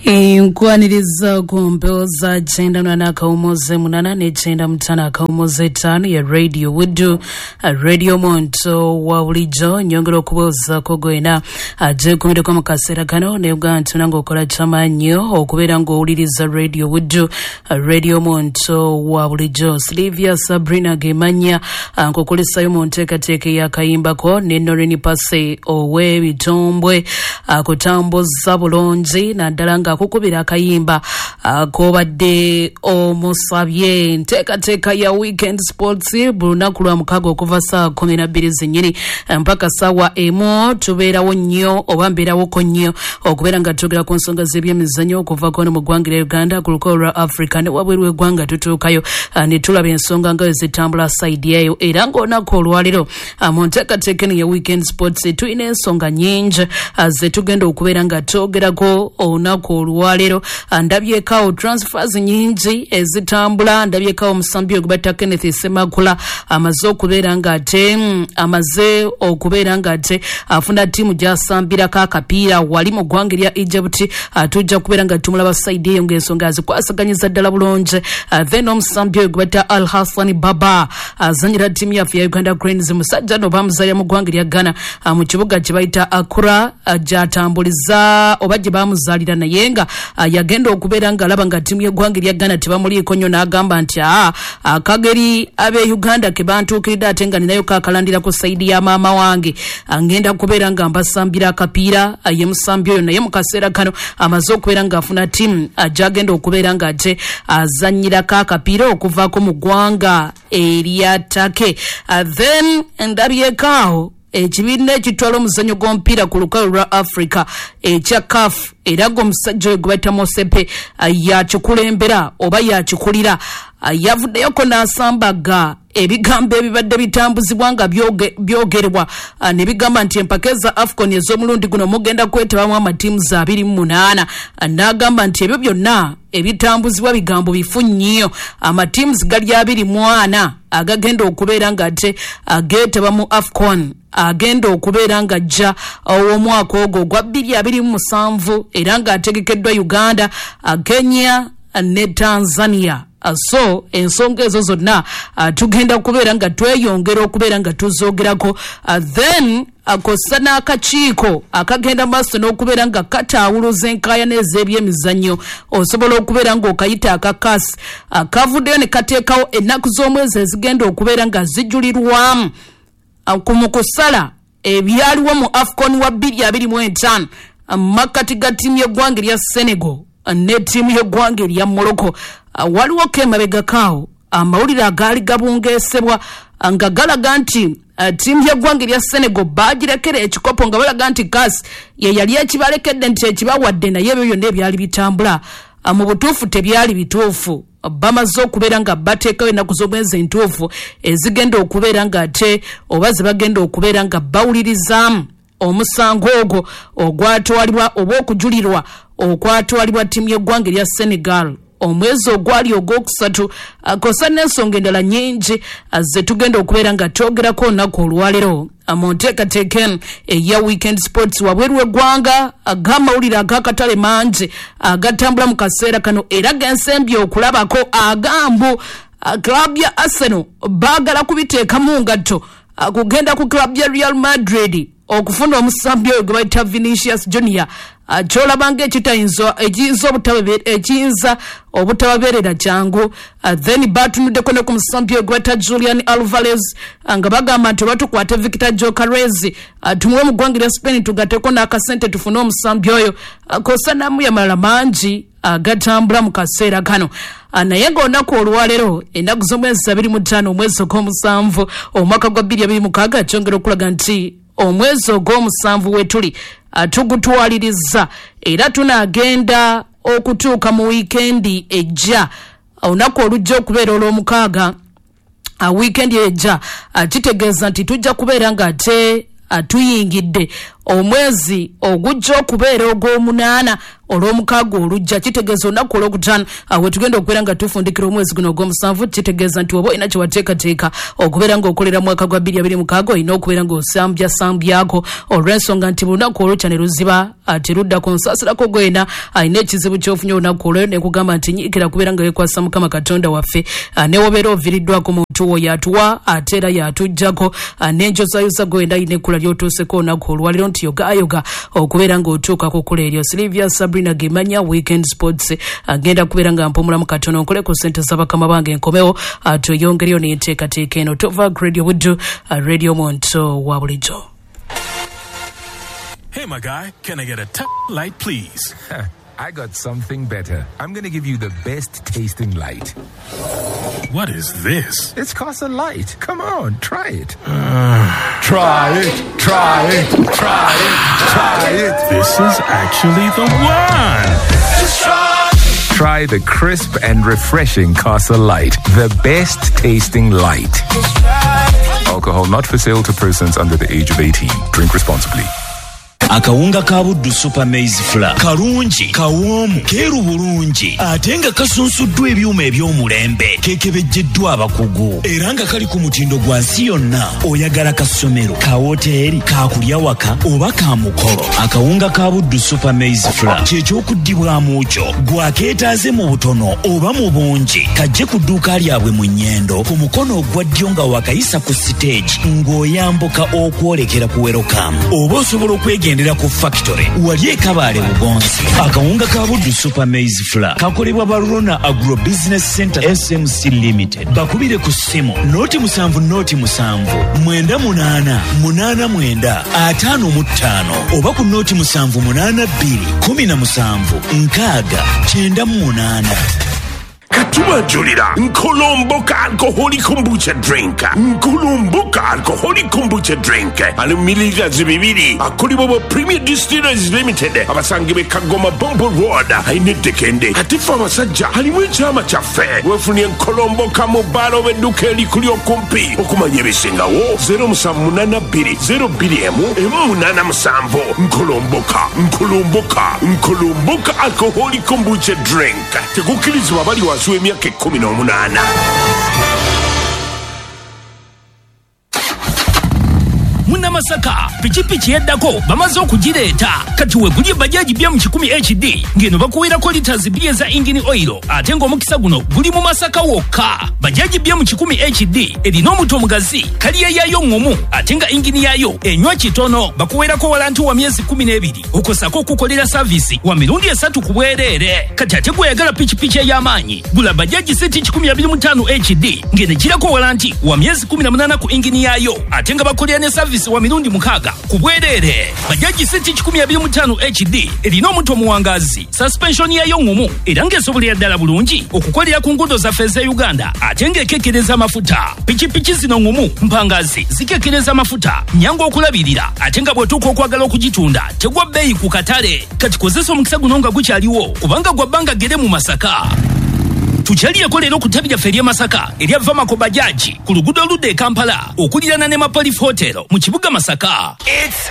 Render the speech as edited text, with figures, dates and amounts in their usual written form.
Nkwaniriza ku mpewo za 98.8 ne 95.5 ya Radio Buddu, Radio Muntu wa bulijjo. Nyongera okubuuzaako gwena gyekumireko mu kaseera kano nebuga nti nange okola kyamaanyi okubeera ng'owuliriza Radio Buddu, Radio Muntu wa bulijjo. Silivia Sabrina gemanya nkukulisayo mu nteekateeka ey'akayimbako ne Norini Pase ow'ebitombwe akutambuza bulungi naddala ng'akukubira akayimba k'obadde omusabye. Nteekateeka ya Weekend Sports buli lunaku lwa mukaaga okuva ssaawa 12 zennyini mpaka ssaawa 1 tubeerawo nnyo oba mbeerawoko nnyo okubeera nga twogera ku nsonga z'ebyemizannyo okuva kono mu ggwanga lya Uganda, ku lukalu lwa Africa ne wabweru w'eggwanga tutuukayo ne tulaba ensonga nga zitambula sayidi eyo. Era ng'olunaku olwaleero mu nteekateeka eno ya Weekend Sports tulina ensonga nnyingi ze tugenda okubeera nga twogerako olunaku olwaleero. Ndabyekawo transfers nyingi ezitambula, ndabyekawo omusambi ogwe batta Kenneth Ssemakula amaze okubeera ng'ate afuna ttiimu gy'asambirako akapiira wali mu ggwanga erya Egypt. Tujja kubeera nga tumulaba sayidi eyo ng'ensonga azikwasaganyiza ddala bulungi. Then omusambi oyo gwe batta Al Hassan Baba azanyira ttiimu yaffe ya Uganda Cranes, musajja no bamuzaalira mu ggwanga erya Ghana mu kibuga kye bayita Accra gy'atambuliza oba gye bamuzaalira, naye nga yagenda okubeera ng'alaba nga ttiimu y'eggwanga erya Ghana tebamuliiko nnyo n'agamba nti akageri ab'e Uganda ke bantuukiridde ate nga ninayo kaakalandira ku sayidi ya maama wange, ngenda kubeera nga mbasambira akapiira. Ye musambi oyo naye mu kaseera kano amaze okubeera ng'afuna ttiimu gy'agenda okubeera ng'ate azannyirako akapiira okuvaako mu ggwanga erya Turkey. Then ndabyeko awo ekibiina ekitwala omuzannyo gw'omupiira ku lukalu lwa Africa ekya CAF, era ng'omusajja oyo gwe bayita Mosepe yakikulembera oba yakikulira, yavuddeyoko n'asambaga ebigambo ebibadde bitambuzibwa nga byogerebwa ne bigamba nti empaka eza AFCON ez'omulundi guno mugenda kwetabamu amatiimu za 28. N'agamba nti ebyo byonna ebitambuzibwa bigambo bifu nnyo, amatiimu gali 24 agagenda okubeera ng'ate ageetaba mu AFCON agenda okubeera ng'ajja ow'omwaka ogwo ogwa 2027 era ng'ategekeddwa Uganda, Kenya ne Tanzania. So ensonga ezo zonna tugenda kubeera nga tweyongera okubeera nga tuzoogerako. Then akosa n'akakiiko akagenda maaso n'okubeera nga kataawuluza enkaayana ez'ebyemizannyo, osobola okubeera ng'okayita akakasi, kavuddeyo ne kateekawo ennaku z'omwezi ezigenda okubeera nga zijulirwamu mu kusala ebyaliwo mu AFCON wa 2025 makkati ga ttiimu y'eggwanga erya Senegal ne ttiimu y'eggwanga erya Morocco. Waliwo ko emabegakaawo amawulire agaali gabungeesebwa nga galaga nti ttiimu y'eggwanga erya Senegal baagirekera ekikopo nga balaga nti CAS ye yali ekibalekedde nti ekibawadde, naye ebyo byonna ebyali bitambula mu butuufu tebyali bituufu. Bamaze okubeera nga bateekawo ennaku z'omwezi entuufu ezigenda okubeera ng'ate oba ze bagenda okubeera nga bawulirizaamu omusango ogwo ogwatwalibwa oba okujulirwa okwatwalibwa ttiimu y'eggwanga erya Senegal omwezi ogwali ogwokusatu. Kosa n'ensonga endala nnyingi ze tugenda okubeera nga twogerako olunaku olwaleero mu nteekateeka eno eya Weekend Sports. Wabweru w'eggwanga ag'amawulire ag'akatale mangi agatambula mu kaseera kano era gensembye okulabako agambu club ya Arsenal baagala kubiteeka mu ngatto kugenda ku club ya Real Madrid okufuna omusambi oyo gwe bayita Vinicius Junior, kyolabanga ekiyinza obutababeerera kyangu. Then batunuddeko ne ku musambi oyo gwe bayita Julian Alvarez nga bagamba nti oba tukwate Victor Gyökeres tumuwe mu ggwanga erya Spain tugatteko n'akasente tufune omusambi oyo, kosa n'amuya malala mangi agatambula mu kaseera kano. Naye ng'olunaku olwaleero ennaku z'omwezi 25 omwezi ogw'omusanvu omwaka gwa 2026 kyongera okulaga nti omwezi ogw'omusanvu wetuli tugutwaliriza era tunaagenda okutuuka mu wiikendi ejja, olunaku olujja okubeera olw'omukaaga. Wiikendi ejja kitegeeza nti tujja kubeera ng'ate tuyingidde Omwezi ogujja okubeera ogw'omunaana olw'omukaaga olujja, kitegeeza olunaku olwokutaano we tugenda okubeera nga tufundikira omwezi guno ogw'omusanvu. Kitegeeza nti oba olina kyewateekateeka okubeera ng'okolera mwaka gwa 2026, olina okubeera ng'osambyasambyako, olw'ensonga nti buli lunaku olukya ne luziba teruddako. Nsaasirako gwena alina ekizibu ky'ofunye olunaku olwo, nekugamba nti nyiikira kubeera nga weekwasa Mukama Katonda waffe. Newobeera oviiriddwako muntu wo, yatuwa ate era yatuggyako. N'enjozayoza gwenda alina ekkula ly'otuuseko olunaku olwaliro nti yogayoga okubeera ng'otuuka ku kkula eryo. Silivia Sabrina Gemanya, Weekend Sports. Agenda kubeera nga mpumulamu katono, nkole ku ssente z'abakama bange, nkomewo tweyongereyo n'enteekateeka eno. Tova Radio Buddu, radio muntu wa bulijjo. Hey, my guy, can I get a t- light, please? I got something better. I'm going to give you the best tasting light. What is this? It's Casa Light. Come on, try it. Try it, try it, try it, try it. This is actually the one. Try the crisp and refreshing Casa Light, the best tasting light. Alcohol not for sale to persons under the age of 18. Drink responsibly. Akawunga ka Buddu Super Maize Flour kalungi, kawoomu, keeru bulungi, ate nga kasunsuddwa ebyuma eby'omulembe, kekebejjeddwa abakugu, era nga kali ku mutindo gwa nsi yonna. Oyagala ka ssomero, ka woteeri, kakulya waka oba ka mukolo, akawunga ka Buddu Super Maize Flour kyekyokuddibwamu kyo. Gwakeetaaze mu butono oba mu bungi, kajje ku dduuka lyabwe mu Nnyendo, ku mukono ogwa ddyo nga wakayisa ku siteegi ng'oyambuka okwolekera ku Welcome, oba osobola okwegendera ku factory wali ekabaale Bugonzi. Akawunga ka Buddu Super Maize Flour kakolebwa Barona Agro Business Center SMC Limited. Bakubire ku ssimu 070 07 98 89 55 oba ku 0782 17 60 98. Katubanjulira Nkolomboka alcoholic kombucha drink. Nkolomboka alcoholic kombucha drink ali mu mililita 200, akolebwa bwa Premier Distillers Limited, abasangibwa e Kagoma, Bombo Road, alina eddekende. Ate ffe abasajja alimu ekyama kyaffe. Weefunye Nkolomboka mu bbaala oba edduka erikuli okumpi. Okumanya ebisingawo, 0782 02 187. Nkolomboka, Nkolomboka, Nkolomboka alcoholic kombucha drink. Tekukkirizibwa abali wansi w'emyaka 18. Munnamasaka, pikipiki eddako bamaze okugireeta. Kati wegulye Bajaji BM 100 HD, ng'eno bakuweerako liters 2 eza engine oil, ate ng'omukisa guno guli mu Masaka wokka. Bajaji BM 100 HD erina omuto omugazi, kaliya yaayo ŋŋumu, ate nga engine yaayo enywa kitono. Bakuweerako warranty wa myezi 12, okosako okukolera service wa mirundi 3 ku bwereere. Kati ate gweyagala pikipiki ey'amaanyi, gula Bajaji CT 125 HD, ng'eno ekirako warranty wa myezi 18 ku engine yaayo, ate nga bakolera ne service wa mirundi 6 ku bwereere. Bajaji CT 125 HD erina omuto omuwangazi, suspension yaayo ŋŋumu, era ng'esobolera ddala bulungi okukolera ku nguudo zaffe ez'e Uganda, ate ng'ekekkereza amafuta. Pikipiki zino ŋŋumu, mpangazi, zikekkereza amafuta, nyangu okulabirira, ate nga bw'otuuka okwagala okugitunda tegwa bbeeyi ku katale. Kati kozesa omukisa guno nga gukyaliwo, kubanga gwa bbanga ggere mu Masaka. Tukyalireko leero ku ttabi lyaffe ery'e Masaka erya Vamako Bajaji, ku luguudo oludda e Kampala, okuliraana ne Mapolif Hotel mu kibuga Masaka. It's